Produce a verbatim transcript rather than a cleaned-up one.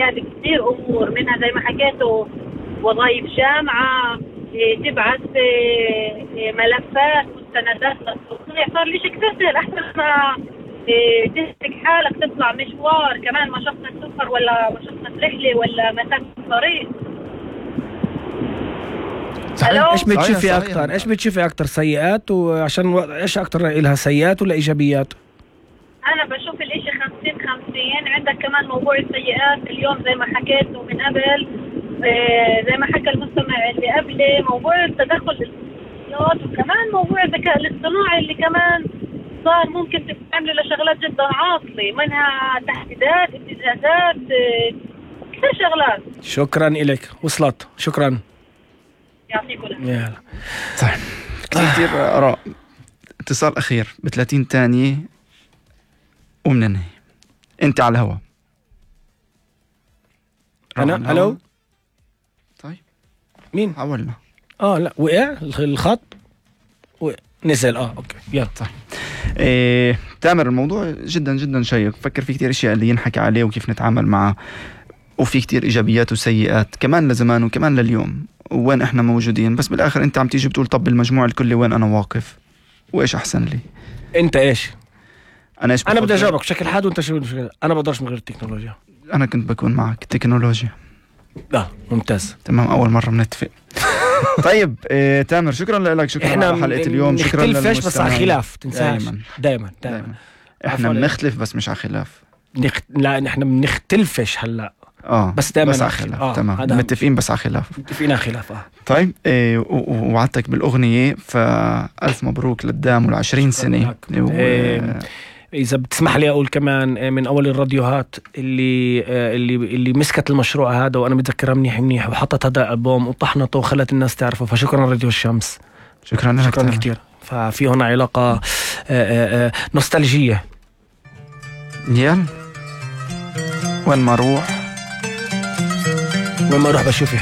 السيئات كثير أمور منها زي ما حكيتوا وظائف جامعة، تبعث ملفات مستندات للتصنيع، صار ليش كثير أحسن ما تهلك حالك تطلع مشوار كمان مشقة سفر ولا مشقة رحلة ولا مسافة طريق. صحيح. ايش بتشوفي اكثر؟ ايش بتشوفي اكثر سيئات وعشان ايش اكثر لها سيئات ولا ايجابيات؟ انا بشوف الاشي خمسين خمسين. عندك كمان موضوع السيئات اليوم زي ما حكيت ومن قبل زي ما حكى المستمع اللي قبلي، موضوع التدخل الاتصالات وكمان موضوع الذكاء الاصطناعي اللي كمان صار ممكن تستعمله لشغلات جدا عاطلة، منها تحديدات ابتزازات كثير شغلات. شكرا لك، وصلت. شكرا، يعطيكم العافية. صح. كثير كثير آراء. اتصال أخير بثلاثين ثانية ومننهي. أنت على الهوا. أنا ألو. طيب مين؟ حاولنا. آه لا وقع الخط وقع. نزل. آه أوكي يلا. طيب إيه تامر، الموضوع جدا جدا شيق. فكر في كتير اشياء اللي ينحكي عليه وكيف نتعامل معه، وفي كتير ايجابيات وسيئات كمان لزمان وكمان لليوم وين احنا موجودين. بس بالاخر انت عم تيجي بتقول طب بالمجموع الكلي وين انا واقف وايش احسن لي. انت ايش؟ انا ايش انا بدي اجاوبك بشكل حاد وانت شو. انا بقدرش من غير التكنولوجيا. انا كنت بكون معك تكنولوجيا. لا ممتاز تمام، اول مره بنتفق. طيب إيه تامر، شكرا لك. شكرا على حلقه اليوم. شكرا للمستمعين. بس على خلاف تنساش. دائما دائما دائما احنا بنختلف بس مش على خلاف. نخ... لا نحن بنختلفش هلا اه بس دائما بس على خلاف. آه. تمام متفقين بس على خلاف. متفقين على خلاف. اه طيب إيه ووعدتك بالاغنيه، فالف مبروك للدام والعشرين سنه. و... إيه إذا بتسمح لي أقول كمان من أول الراديوهات اللي اللي اللي مسكت المشروع هذا وأنا متذكرها منيح منيح وحطت هذا ألبوم وطحنته وخلت الناس تعرفه، فشكرا راديو الشمس. شكرا لك. شكرا كتير. ففي هنا علاقة نوستالجية. يلا وين ما أروح وين ما أروح بشوف